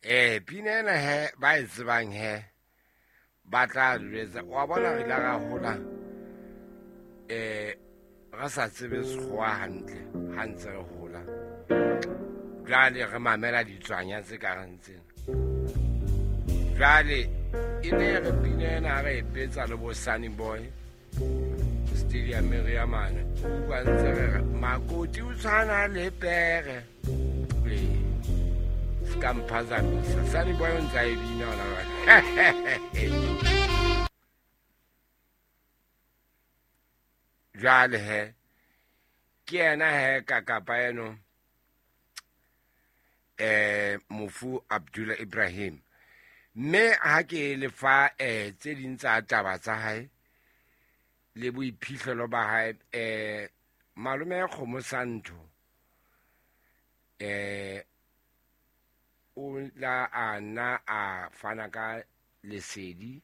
Pina ena he ba e tsebang he ba tla jwetsa wa bona re ile ra hola re sa tsebe sekgowa hantle ha ntse re hola. Jwale re mamela ditswanya tse ka reng tsena. Jwale e ne re pina ena re e betsa le bo Sunny Boy Stadium re ya mane. Utlwa ntse re re makoti o tshwana le pere. Ee, se ka mphazamisa. Sunny Boy o ntse a e bina hona jwale. Jwale he ke yena he kakapa eno mofu Abdullah Ibrahim. Mme ha ke le fa tse ding tsa taba tsa hae le boiphihlelo ba hae, malome Kgomo Santho o la a nna a fana ka lesedi,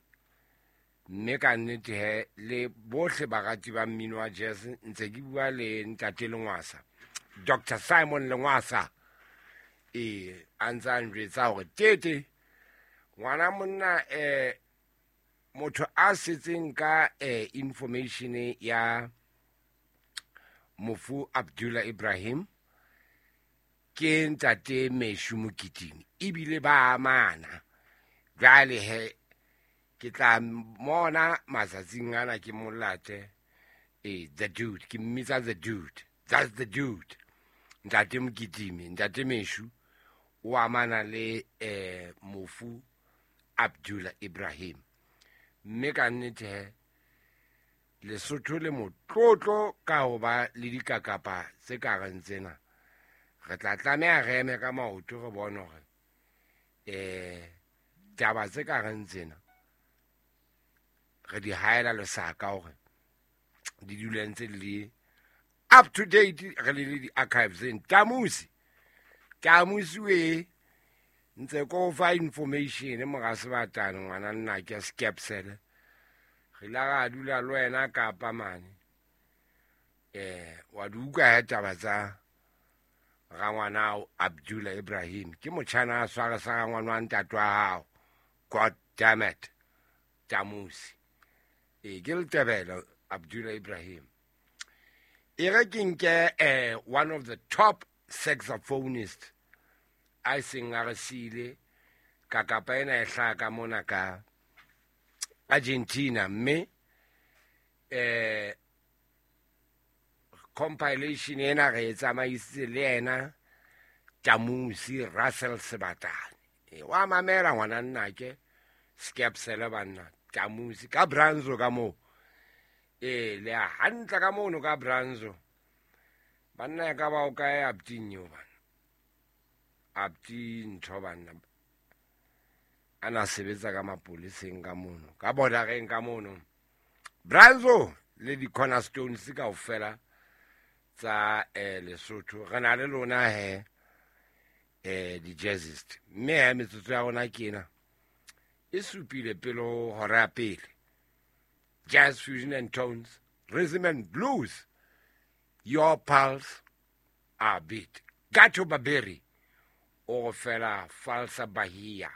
mme ka nnete he le bohle barati ba mmino wa jazz ntse ke bua le ntate Lengwasa, Dr. Simon Lengwasa, a ntse a njwetsa hore tete ngwana monna motho a setseng ka information ya mofu Abdullah Ibrahim ke ntate Meshu Mokitimi, ebile ba amana. Jwale he ke tla mona matsatsing ana ke molate the dude, ke mmitsa the dude, that's the dude. Ntate Mokitimi, ntate Meshu o amana le mofu Abdullah Ibrahim. Mme ka nnete he Lesotho le motlotlo ka ho ba le dikakapa tse ka reng tsena. Re tla tlameha re eme ka maoto re bone hore taba tse ka reng tsena re di haela lesaka hore di dule ntse di le up to date, re le di-archiveseng. Tamusi, Tamusi we ntse ko fa information mora Sebatane ngwana nna ke Skepsele. Re la ra dula le wena Kapa mane. Wa di utlwa he taba tsa rangwana Abdullah Ibrahim. Ke motjhana a sware sa rangwana wa ntate wa hao. God damn it. Tamusi. Ke Letebele Abdullah Ibrahim. E re ke nke one of the top saxophonists a seng a re siile kakapa ena e hlaha ka mona ka Argentina, mme compilation ena re e tsamaisitse le yena Tamusi Russell Sebatane. Wa mamela ngwana nnake Skepsele banna Tamusi ka Branzo ka moo. Le a hantle ka mono ka Branzo. Banna ka ba o kae Abdin yo bana. Abdin ntho banna. Ana sebetsa ka mapoliseng ka mono, ka bordereng ka mono. Branzo le di cornerstones kaofela tsa Lesotho. Re na le lona he di jazzist. Mme he metsotso ya rona ke ena e supile pele ho hora ya pele. Jazz, fusion and tones, rhythm and blues. Your pulse are beat. Gato Barbieri o fela Falsa Bahia.